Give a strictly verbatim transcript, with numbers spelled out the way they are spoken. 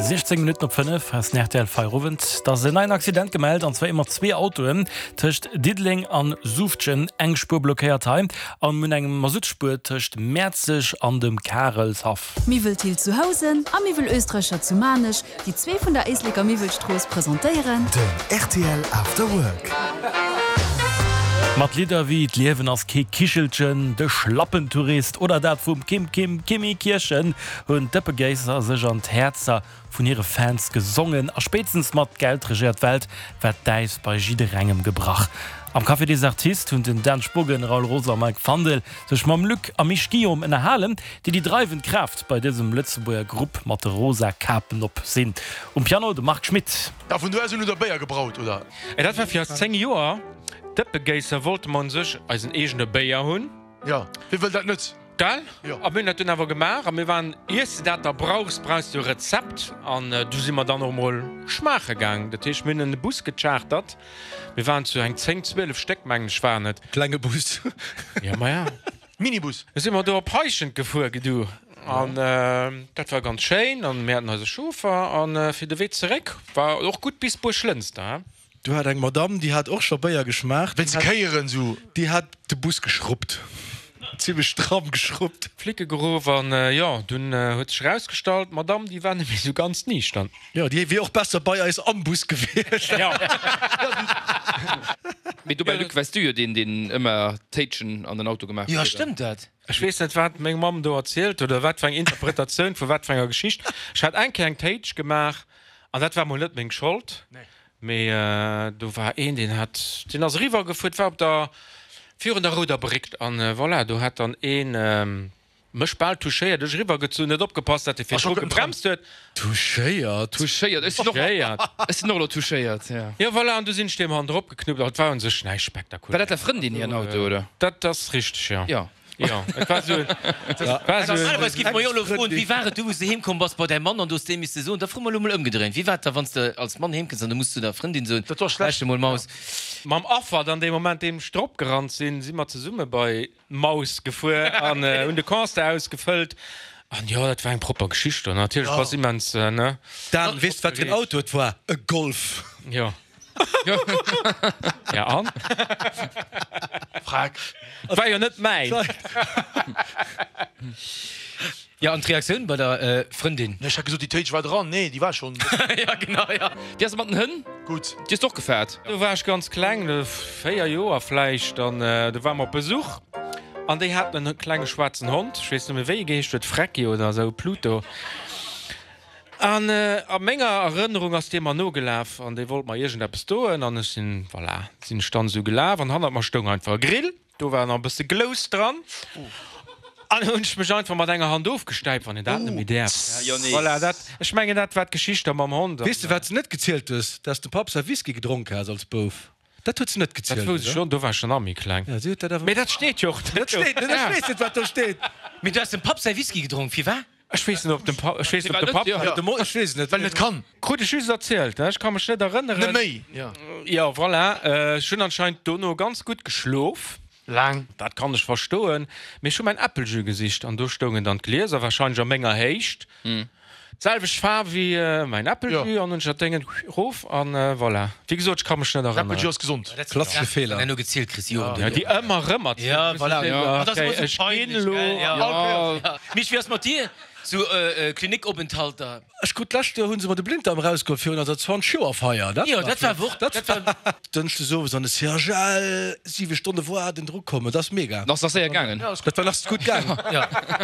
Siechzéng Minutten op fënnef ass den R T L Feierowend. Et ass en neien Accident gemellt, an zwar ëmmer zwee Autoen tëscht Diddeleng an Suuftgen. Eng Spuer blockéiert hei an un engem Masuttspuer tëscht Mäerzeg an dem Karelshaff. Miwwel Thill zu Housen a Miwwel Österreicher zu Maarnech, déi zwee vun der Éisleker Miwwelstrooss, presentéieren. Den R T L After Work. Mat Lidder wéi D'Liewen ass kee Kichelchen, De Schlappentourist oder dat vum Kim Kim Kimi Kirchen hunn d'Dëppegéisser sech an d'Häerzer vun hire Fans gesongen. A spéitstens mat Geld regéiert d'Welt war d'Äis bei jidderengem gebrach. Am Café des Artistes hunn den Dan Spogen, Raoul Rosa a Mike Fandel sech mam Luc a Misch Guillaume ënnerhalen, déi déi dreiwend Kraaft bei dësem Lëtzebuerger Grupp mat de rosa Kapen op sinn. Um Piano de Marc Schmitt. Ja, vun do aus hunn der Béier gebraut, oder? Ey, dat war fir eis zéng Joer Dëppegéisser, wollte mer un sech eisen eegene Béier hunn. Ja, wie wëll dat net? Gell? Jo. A mir hunn dat dunn awer gemaach a mir waren, iers de dat da brauchs, brauchs du e Rezept an du si mer dann och mol schmaache gaang. Dat heescht, mir hunn en Bus gechartert, mir waren zu eng zéng, zwielef Stéck, mengen ech waren et. Klenge Bus. Ja, ma ja. Minibus. Du si mer do op Heischent gefuer, gedu, an dat war ganz schéin an mir haten eise Chauffer an fir de Wee zeréck war och gutt bis Buerglënster, he. Du hat eng Madame, déi hat och scho Béier geschmaacht. Wéinst de Kéieren sou. Déi hat de Bus geschruppt. Zimlech stramm geschruppt. Flicke geruff an jo, dunn huet sech erausgestallt, d'Madame, déi war net méi sou ganz niichtern. Jo, déi wier och besser bei eis am Bus gewiescht. Jo. Mee dobäi, Luc, waars du jo deen, deen ëmmer Téitschen an den Auto gemaach Jo, huet, oder? stëmmt dat? Ech weess net, wat meng Mamm do erzielt huet oder wat fir eng Interpretatioun vu wat fir enger Geschicht. Ech hat eng Kéier eng Téitsch gemaach an dat war mol net meng Schold. Mee do war een, deen hat, deen ass eriwwer gefuer, war op der, virun der Rouder Bréck an voilà, do hat dann een mech bal touchéiert, ech eriwwer gezunn, net opgepasst, dat e virdru gebremst huet. Touchéiert? Touchéiert, ech sinn och, Touchéiert. Ech sinn och elo touchéiert, jo. Jo, voilà, an du sinn ech deem hannendrop geknuppt, an et war un sech näischt War dat spektakuläres. der Frëndin hiren Auto, oder? Dat ass richteg, jo. Jo. Jo, et war esou, et war esou. Normalerweis géife mer jo elo froen, wéi war et du, wou s de heem komm bass bei däi Mann an du hues deem misse soen. Da froe mer elo mol ëmgedréint, wéi war et da, wann s de als Mann heem kënns an du muss zu der Frëndin soen, Dat war schlecht. Lauschter mol, Maus. Mam Affer dann dee Moment, deem ech drop gerannt sinn, si mer zesumme bei d'Maus gefuer an hunn de Constat ausgefëllt. An jo, dat war eng propper Geschicht. An natierlech bass immens, ne? Dan, weess de, wat fir en Auto et war? E Golf. Jo. Ja, an? Frag. War jo net mäin. Jo, an d'Reaktioun bei der Frëndin? Ech hat gesot, déi Téitsch war dran. Nee, déi war schonn. Ja, genau, ja. Déi ass mat den Hënn? Gutt. Déi hues de och gefaart? Do war ech ganz kleng, véier Joer vläicht, an do ware mer op Besuch an déi haten en klenge schwaarzen Hond, ech weess net méi wéi e geheescht huet, Frecki oder esou, Pluto. An a menger Erënnerung ass dee mer nogelaf an dee wollt mer iergendeppes doen an ech sinn, voilà, sinn ech dann esou gelaf an hannert mer stoung einfach e Grill, do war nach e bësse Glous dran an hunn ech mech einfach mat enger Hand ofgestäipt, wann een dat net méi däerf. Voilà, dat, ech mengen dat war d'Geschicht da mam Hond. Weess de wat s de net gezielt hues? Dass de Papp säi Whisky gedronk has als Bouf. Dat huet se net Dat gezielt, wousst ech oder? schonn, do war ech schon nach méi kleng. Ja, si huet dat awer. Mee dat steet jo och net Dat do. steet net, ech weess net wat do steet. Mee du has dem Papp säi Whisky gedronk, firwat? Ech weess net ob dem Papp, ech weess net ob de Papp. De Mo, ech weess et net. Well en et kann. Krut ech just erzielt, ech ka mech net erënneren. Net méi, jo. Jo, voilà, ech hunn anscheinend dono ganz gutt geschlof. Laang. Dat kann ech verstoen. Mee ech hu mäin Äppeljus gesicht an do stoungen dann d'Glieser, wahrscheinlech a menger Héicht. D'selwecht Faarf wéi mäin Äppeljus an hunn ech dat Déngen rof an voilà. Wéi gesot, ech ka mech net erënneren. Äppeljus ass gesond. Klassesche Feeler. Wann herno gezielt kriss, Joren Ja, duerno. déi ëmmer erëm erzielt. Ja, voilà. Ja, Dat ass okay, ëmmer sou ech ginn peinlech, elo. gell? Ja. Ja. Ja. Misch, wéi ass mat dir? Sou Klinikopenthalter. Ech krut d'lescht Joer hu se mer de Blinddarm erausgeholl virun eiser zwanzeg Joer Feier. Dat Jo, dat war Wort. Dat Dat war. Dënschdes owes an de C H L, siwe Stonne waarden, drukommen, dat ass mega. Ass nach séier gaangen. Dat war nach gutt gaangen. Ja.